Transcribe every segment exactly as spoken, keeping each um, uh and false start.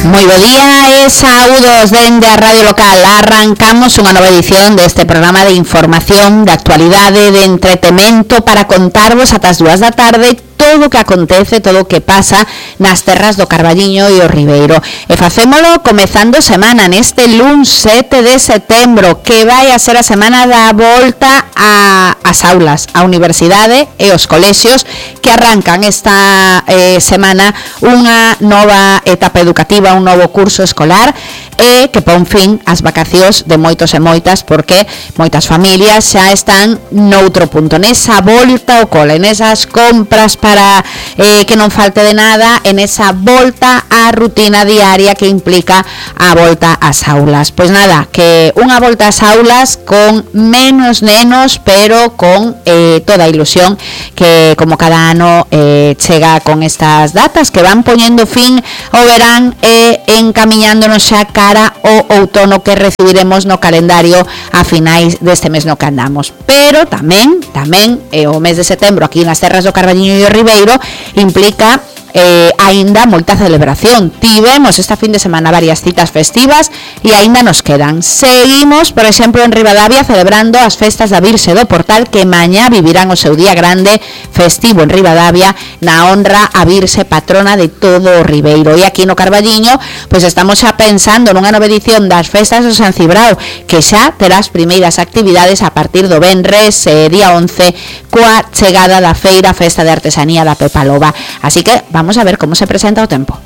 Moi bo día e saúdos dende a Radio Local. Arrancamos unha nova edición deste programa de información, de actualidade, de entretemento para contarvos ata as dúas da tarde todo o que acontece, todo o que pasa nas terras do Carballiño e o Ribeiro. E facémolo comezando semana neste luns sete de setembro, que vai a ser a semana da volta a, as aulas, a universidade e os colexios, que arrancan esta eh, semana unha nova etapa educativa, un novo curso escolar, e que pon fin ás vacacións de moitos e moitas, porque moitas familias xa están noutro punto, nesa volta ao cole, nesas compras para eh, que non falte de nada, en esa volta á rutina diaria que implica a volta ás aulas. Pois nada, que unha volta ás aulas con menos nenos, pero con eh, toda a ilusión que como cada ano eh, chega con estas datas que van poñendo fin ao verán e eh, encamiñándonos xa cara ao outono que recibiremos no calendario a finais deste mes no que andamos. Pero tamén, tamén eh, o mes de setembro aquí nas terras do Carballiño e o Ribeiro implica eh, aínda moita celebración. Tivemos esta fin de semana varias citas festivas e aínda nos quedan. Seguimos, por exemplo, en Ribadavia celebrando as festas da Virxe do Portal, que mañá vivirán o seu día grande festivo en Ribadavia na honra a Virxe patrona de todo o Ribeiro. E aquí no Carballiño pois estamos xa pensando nunha nova edición das festas do San Cibrao, que xa terá as primeiras actividades a partir do venres eh, día once, coa chegada da feira Festa de Artesanía da Pepa Loba. Así que vamos Vamos a ver cómo se presenta o tempo.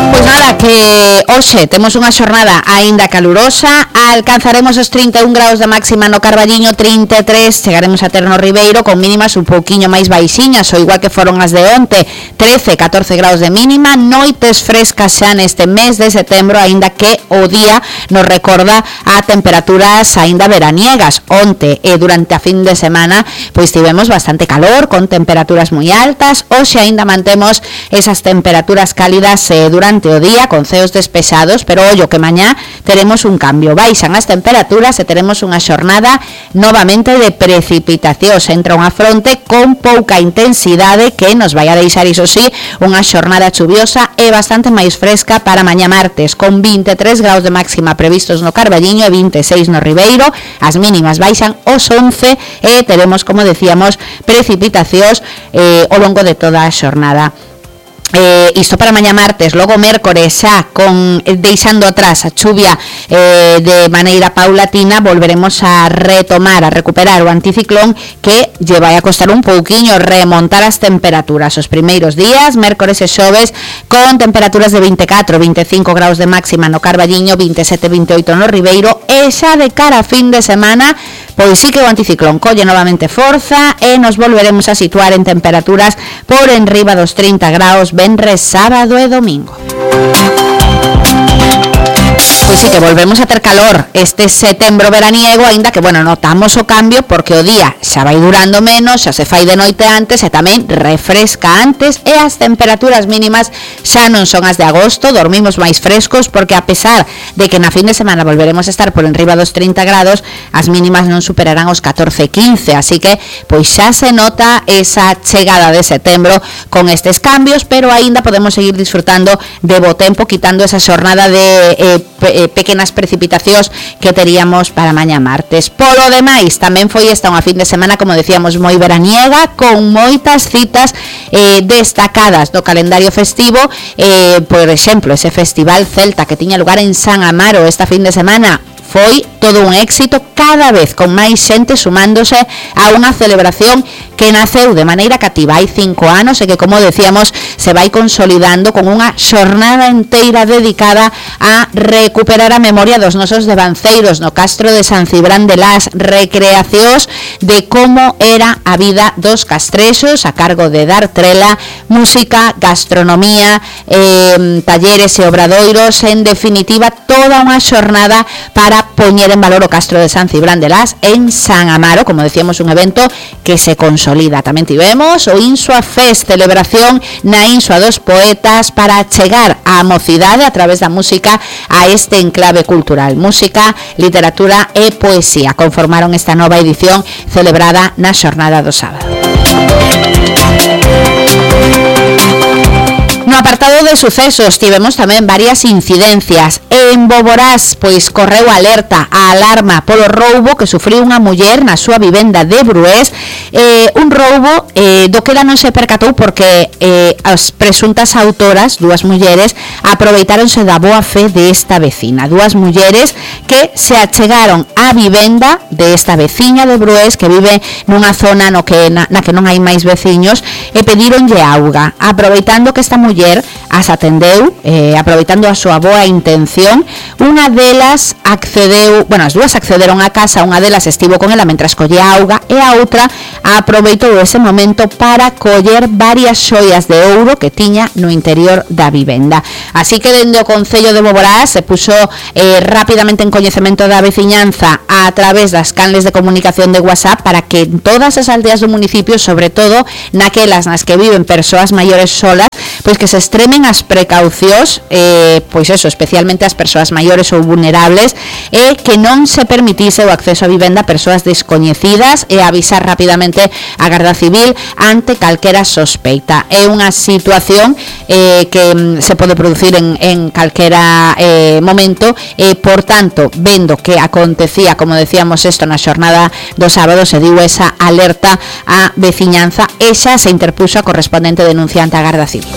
Pois nada, que hoxe temos unha xornada aínda calurosa, alcanzaremos os trinta e un graus de máxima no Carballiño, trinta e tres chegaremos a ter no Ribeiro, con mínimas un pouquiño máis baixiñas, ou igual que foron as de onte, trece, catorce graus de mínima, noites frescas xa neste mes de setembro, aínda que o día nos recorda a temperaturas aínda veraniegas. Onte e durante a fin de semana pois tivemos bastante calor, con temperaturas moi altas. Hoxe aínda mantemos esas temperaturas cálidas eh, durante o día, con ceos despexados, pero ollo que mañá teremos un cambio, baixan as temperaturas e teremos unha xornada novamente de precipitacións. Entra unha fronte con pouca intensidade que nos vai a deixar, iso sí, unha xornada chuviosa e bastante máis fresca para mañá martes, con vinte e tres graus de máxima previstos no Carballiño e vinte e seis no Ribeiro. As mínimas baixan os once e teremos, como decíamos, precipitacións eh, ao longo de toda a xornada. Eh, isto para mañá martes, logo mércores xa con eh, deixando atrás a chuvia eh, de maneira paulatina, volveremos a retomar, a recuperar o anticiclón que lle vai a costar un pouquiño remontar as temperaturas. Os primeiros días, mércores e xoves, con temperaturas de vinte e catro, vinte e cinco graus de máxima no Carballiño, vinte e sete, vinte e oito no Ribeiro, e xa de cara a fin de semana pois sí que o anticiclón colle novamente forza e nos volveremos a situar en temperaturas por enriba dos trinta graus venres, sábado e domingo. Pois sí que volvemos a ter calor este setembro veraniego, aínda que, bueno, notamos o cambio porque o día xa vai durando menos, xa se fai de noite antes e tamén refresca antes, e as temperaturas mínimas xa non son as de agosto, dormimos máis frescos porque a pesar de que na fin de semana volveremos a estar por enriba dos trinta grados, as mínimas non superarán os catorce, quince, así que pois xa se nota esa chegada de setembro con estes cambios, pero aínda podemos seguir disfrutando de bo tempo, quitando esa xornada de eh, pequenas precipitacións que teríamos para mañá martes. Polo demais, tamén foi esta unha fin de semana, como decíamos, moi veraniega, con moitas citas eh, destacadas do calendario festivo, eh, por exemplo, ese festival celta que tiña lugar en San Amaro esta fin de semana, foi todo un éxito, cada vez con máis xente sumándose a unha celebración que naceu de maneira cativa hai cinco anos e que, como decíamos, se vai consolidando con unha xornada inteira dedicada a recuperar a memoria dos nosos devanceiros no castro de San Cibrán de Las, recreacións de como era a vida dos castrexos a cargo de Dar Trela, música, gastronomía, eh, talleres e obradoiros, en definitiva toda unha xornada para poñer en valor o castro de San Cibrán de Las en San Amaro, como decíamos, un evento que se consolida. Tamén tivemos o Insua Fest, celebración na Insua dos Poetas para chegar á mocidade a través da música a este enclave cultural. Música, literatura e poesía conformaron esta nova edición celebrada na xornada do sábado. No apartado de sucesos tivemos tamén varias incidencias. En Boborás, pois correu alerta, a alarma polo roubo que sufriu unha muller na súa vivenda de Brués, eh, un roubo eh, do que ela non se percatou porque eh, as presuntas autoras, dúas mulleres, aproveitáronse da boa fe desta vecina, dúas mulleres que se achegaron á vivenda desta veciña de Brués que vive nunha zona no que, na, na que non hai máis veciños e pedíronlle auga, aproveitando que esta muller as atendeu, eh, aproveitando a súa boa intención, unha delas accedeu, bueno, as dúas accederon á casa, unha delas estivo con ela mentras collía auga e a outra aproveitou ese momento para coller varias xoias de ouro que tiña no interior da vivenda. Así que dende o Concello de Boborás se puxo eh, rapidamente en coñecemento da veciñanza a través das canles de comunicación de WhatsApp para que en todas as aldeas do municipio, sobre todo naquelas nas que viven persoas maiores solas, pois que se extremen as precaucións, eh, pois eso, especialmente as persoas maiores ou vulnerables, e que non se permitise o acceso a vivenda a persoas descoñecidas e avisar rapidamente a Garda Civil ante calquera sospeita. É unha situación eh, que se pode producir en, en calquera eh, momento e, por tanto, vendo que acontecía, como decíamos isto na xornada do sábado, se diu esa alerta á veciñanza e xa se interpuxo a correspondente denunciante a Garda Civil.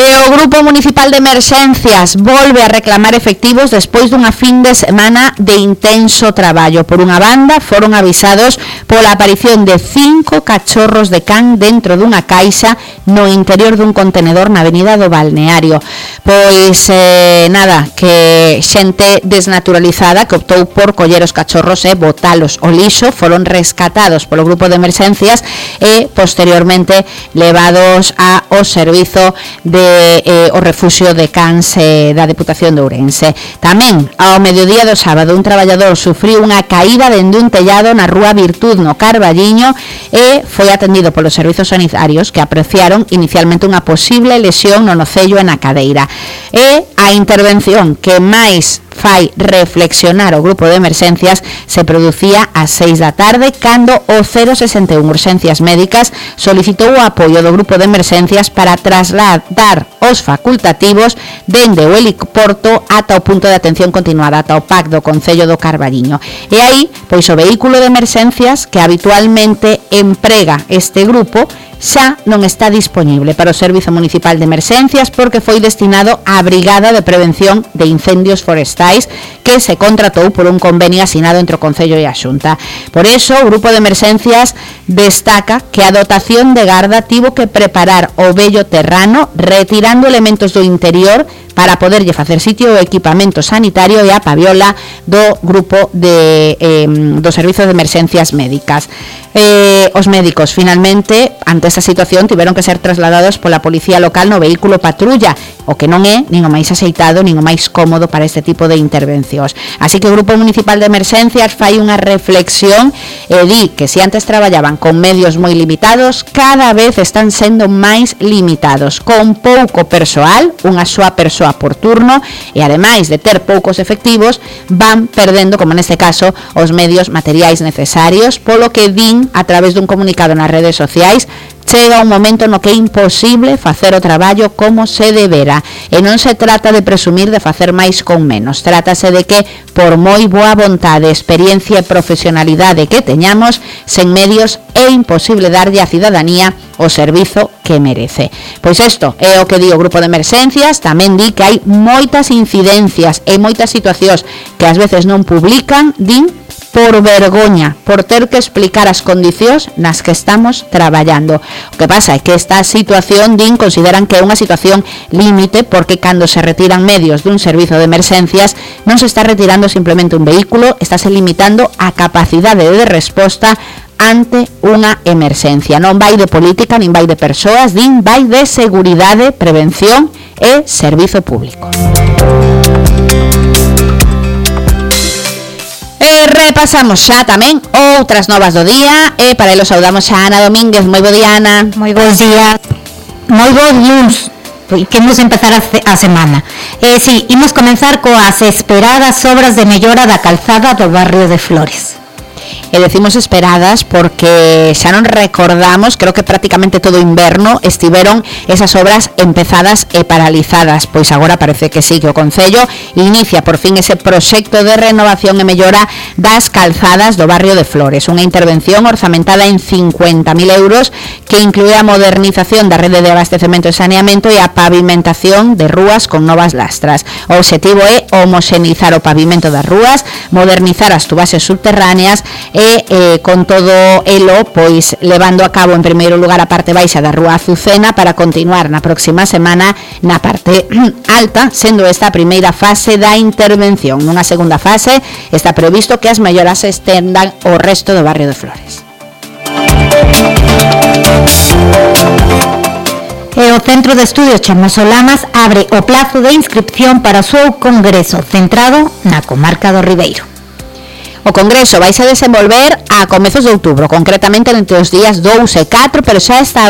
E o Grupo Municipal de Emerxencias volve a reclamar efectivos despois dunha fin de semana de intenso traballo. Por unha banda, foron avisados pola aparición de cinco cachorros de can dentro dunha caixa no interior dun contenedor na avenida do Balneario. Pois, eh, nada, que xente desnaturalizada que optou por coller os cachorros e botalos ao lixo, foron rescatados polo Grupo de Emerxencias e posteriormente levados ao servizo de Eh, o refuxio de cans eh, da Deputación de Ourense. Tamén, ao mediodía do sábado, un traballador sufriu unha caída dende un tellado na rúa Virtud, no Carballiño, e foi atendido polos servizos sanitarios que apreciaron inicialmente unha posible lesión no nocello e na cadeira. E a intervención que máis fai reflexionar o Grupo de Emerxencias se producía ás seis da tarde cando o cero sesenta e un Urxencias Médicas solicitou o apoio do Grupo de Emerxencias para trasladar os facultativos dende o heliporto ata o punto de atención continuada, ata o P A C do Concello do Carballiño. E aí, pois o vehículo de emerxencias que habitualmente emprega este grupo xa non está disponible para o Servizo Municipal de Emerxencias porque foi destinado á Brigada de Prevención de Incendios Forestais que se contratou por un convenio asinado entre o Concello e a Xunta. Por eso, o Grupo de Emerxencias destaca que a dotación de Garda tivo que preparar o vello terrano retirando elementos do interior para poderlle facer sitio o equipamento sanitario e a paviola do grupo de, eh, do Servizo de Emerxencias Médicas. Eh, os médicos, finalmente, ante esta situación, tiveron que ser trasladados pola policía local no vehículo patrulla, o que non é nin o máis axeitado, nin o máis cómodo para este tipo de intervencións. Así que o Grupo Municipal de Emerxencias fai unha reflexión e di que se antes traballaban con medios moi limitados, cada vez están sendo máis limitados, con pouco persoal, unha soa persoa por turno, e ademais de ter poucos efectivos, van perdendo, como neste caso, os medios materiais necesarios, polo que din a través dun comunicado nas redes sociais, chega un momento no que é imposible facer o traballo como se debera, e non se trata de presumir de facer máis con menos, trátase de que, por moi boa vontade, experiencia e profesionalidade que teñamos, sen medios é imposible darlle á cidadanía o servizo que merece. Pois isto é o que di o Grupo de Emerxencias. Tamén di que hai moitas incidencias e moitas situacións que ás veces non publican, din, por vergoña, por ter que explicar as condicións nas que estamos traballando. O que pasa é que esta situación, din, consideran que é unha situación límite porque cando se retiran medios dun servizo de emerxencias non se está retirando simplemente un vehículo, estáse limitando a capacidade de resposta ante unha emerxencia. Non vai de política, nin vai de persoas, din, vai de seguridade, prevención e servizo público. E repasamos xa tamén outras novas do día e para elo saudamos a Ana Domínguez. Moi bo día, Ana. Moi bons días. Moi bons luns. Que imos empezar a semana. Eh, sí, imos comenzar coas esperadas obras de mellora da calzada do barrio de Flores. E decimos esperadas porque xa non recordamos, creo que prácticamente todo inverno estiveron esas obras empezadas e paralizadas, pois agora parece que sí, que o Concello inicia por fin ese proxecto de renovación e mellora das calzadas do barrio de Flores, unha intervención orzamentada en cincuenta mil euros que inclúe a modernización da rede de abastecemento e saneamento e a pavimentación de rúas con novas lastras. O obxectivo é homoxenizar o pavimento das rúas, modernizar as tubaxes subterráneas e eh, con todo elo, pois levando a cabo en primeiro lugar a parte baixa da Rúa Azucena para continuar na próxima semana na parte alta, sendo esta a primeira fase da intervención. Nunha segunda fase está previsto que as melloras se estendan ao resto do barrio de Flores. E o Centro de Estudios Chamoso Lamas abre o plazo de inscripción para o seu congreso centrado na comarca do Ribeiro. O Congreso vai se desenvolver a comezos de outubro, concretamente entre os días dous e catro, pero xa está